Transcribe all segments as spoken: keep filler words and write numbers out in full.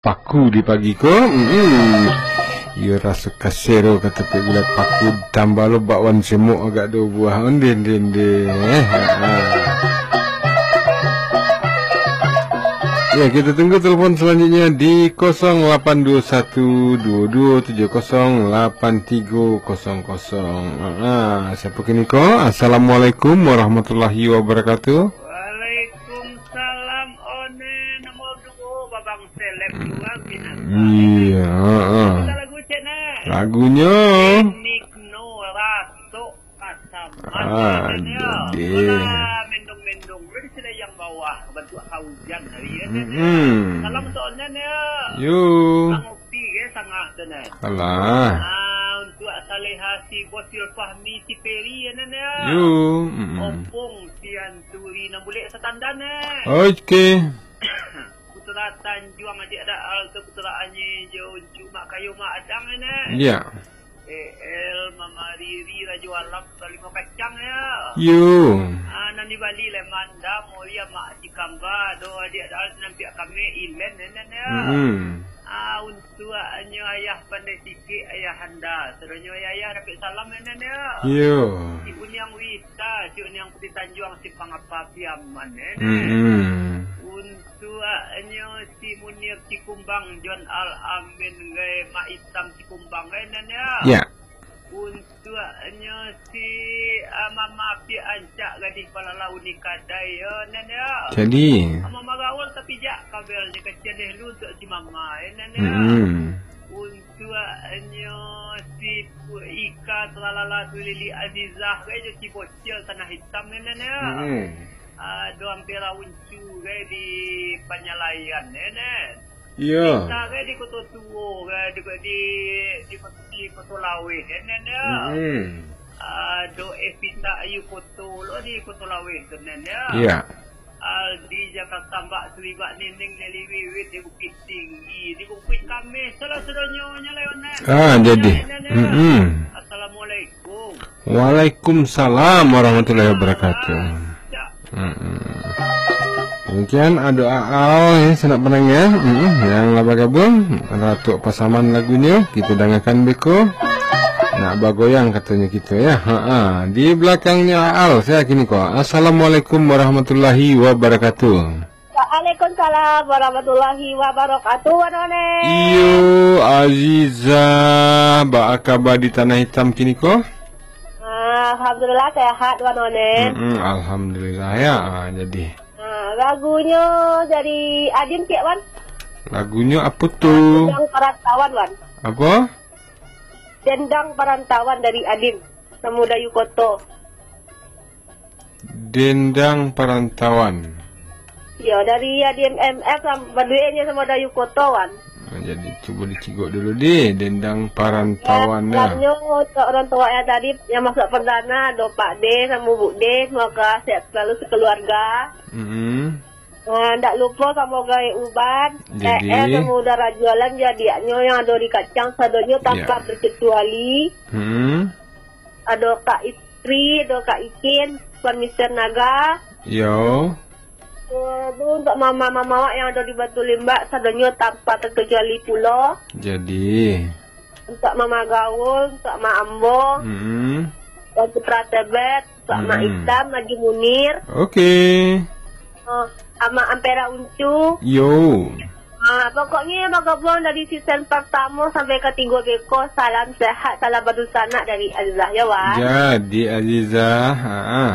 paku di pagi ko. Mm-mm. Iyo raso kasero ka tapi gulai paku, tambah lo bakwan semok agak dua buah. Onde, onde, onde. Eh, ha, ha. Ya, kita tunggu telepon selanjutnya di kosong lapan dua satu dua dua tujuh kosong lapan tiga kosong kosong. Ha, ha. Siapa kini ko? Assalamualaikum warahmatullahi wabarakatuh. Waalaikumsalam, One. Nomor duo, Babang Seleb dua, Pinang. Iya, ha, ha. Kita lagu cek, nah. Lagunyo? Enik no raso kasam. Ah, Mantap, ya. Jadi. Alah, mendung-mendung. Udah di sini yang bawah, bantuak hujan hari ini, ya. Mm-mm. Salam untuk Onen, ya. Yo. Sangopi, ya, sangat, Onen. Alah. Ah, untuk Saleha, si Bosil Fahmi, si Peri, ya, Nen, ya. Yo. Mm-mm. Opung, si Anturi, nan bulek satandan, eh. Oke. Putra Tanjuang, adik Ada Al tu, Putra Anye, jo Uncu, Mak Kayo, Mak Adang, eh, Nen. Iya. E L, Mama Riri, Rajo Alam, Putra Limo Kacang, ya. Yo. Ah, nan di Bali, Lemanda, Moria, Mak Cikamba, do adik Ada Al tu, nan piak kami, Ilen, eh, Nen, ya. Mm-mm. Ah, untuaknyo ayah pandai sikik, ayah anda. Sadonyo ayah-ayah dapek salam, eh, Nen, ya. Yo. Si Buniang Wita, Cuk Niang Putih Tanjuang, Simpang Apa, Piaman, eh, Nen. Mm-mm. Untuaknyo si Munir Cikumbang, John Al Amin, gai Mak Itam Cikumbang, gai, Nen, ya. Ya. Untuaknyo si, ah, Mama Api Ancak, Gadih Palalau ni kadai, yo, Nen, ya. Jadi. Mama Magaul tapi jak kabel ni kasian deh lu untuk si Mama, eh, Nen, ya. Mm-mm. Untuaknyo si Pu-, Ika Tralala Tulili Azizah, gai jo si Bocil Tanah Hitam, Nen, ya. Mm-mm. Ah, do Ampera Uncu, gai di Panyalaian, eh, Nen. Iya. Kita kan di Koto Tuo, kan, di, di, di, di Koto Laweh, kan, kan, ya. Mm-mm. Ah, do Evita Ayu Koto lo di Koto Laweh tu, Nen, ya. Iya. Aldi Jakarta, Mbak Suwibak, Nining, Nelly Wiwit di Bukit Tinggi, di Bukit Kameh, salah sadonyo nyo lewat, Nen. Ah, jadi. Nen, Nen, ya. Mm-mm. Assalamualaikum. Waalaikumsalam warahmatullahi wabarakatuh. Mm-mm. Demikian ado Aal, ya, sanak pandangar, ya. Mm-mm. Yang lah bagabuang, Ratuak Pasaman lagunyo, kito dangakan beko. Nak bagoyang katonyo kito, ya. Ha-ha. Di balakangnyo Aal, sia kini ko. Assalamualaikum warahmatullahi wabarakatuh. Waalaikumsalam warahmatullahi wabarakatuh, Wan One. Iyo, Aziza, baa kaba di Tanah Hitam kini ko? Ah, alhamdulillah, sehat, Wan One. Mm-mm, alhamdulillah, ya. Ah, jadi. Ah, lagunyo dari Adim, ciek, Wan. Lagunyo apo tu? Dendang Parantauan, Wan. Apo? Dendang Parantauan dari Adim, Samudayu Koto. Dendang Parantauan. Yo, dari Adim M F sam-, baduenyo Samudayu Koto, Wan. Ah, jadi, cubo dicigok dulu deh, Dendang Parantauan, ya. Salamnyo untuk urang tua yang tadi, yang masuak perdana, ado Pak De, samo Bu De, semoga sehat selalu sekeluarga. Mm-mm. Ah, ndak lupo samo Gaek Uban, jadi, E R samo Uda Rajo Alam, jo adiaknyo yang ado di Kacang, sadonyo tanpa terkecuali. Ya. Mm-mm. Ado Kak Istri, ado Kak Ikin, Tuan Mister Naga. Yo. Eh, tu untuk mama-mama awak yang ado di Batu Limbak, sadonyo tanpa terkecuali pulo. Jadi. Untuk Mama Gaul, untuk Mak Ambo, Mm-mm. Tuan Putra Tebet, untuk Mak Mm-mm. Itam, Haji Munir. Oke. Oh, Amak Ampera Uncu. Yo. Ah, pokoknyo bagabuang dari season pertamo sampai katigo beko. Salam sehat, salam badunsanak dari Azizah, yo, Wan. Jadi, Azizah, ha, ha.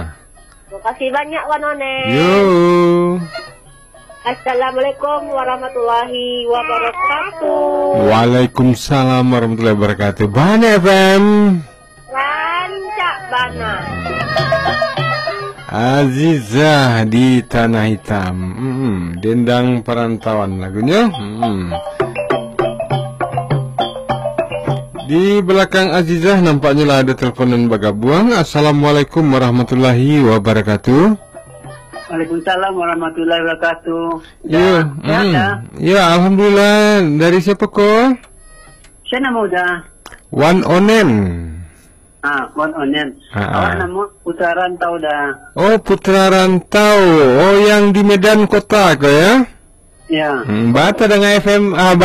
Makasih banyak, Wan One. Yo. Assalamualaikum warahmatullahi wabarakatuh. Waalaikumsalam warahmatullahi wabarakatuh. Bana F M. Rancak bana. Azizah di Tanah Hitam. Mm-mm. Dendang Parantauan lagunyo. Mm-mm. Di balakang Azizah, nampaknyo lah ado telepon nan bagabuang. Assalamualaikum warahmatullahi wabarakatuh. Waalaikumsalam warahmatullahi wabarakatuh. Yo, Da, sehat, mm. Da? Yo, alhamdulillah. Dari siapa ko? Sia namo Da? Wan Onen. Ah, Wan Onen. Ah, awak ah. Namo Putra Rantau Da. Oh, Putra Rantau. Oh, yang di Medan Kota ko, ya? Ya. Hmm, bata dengan F M, ah,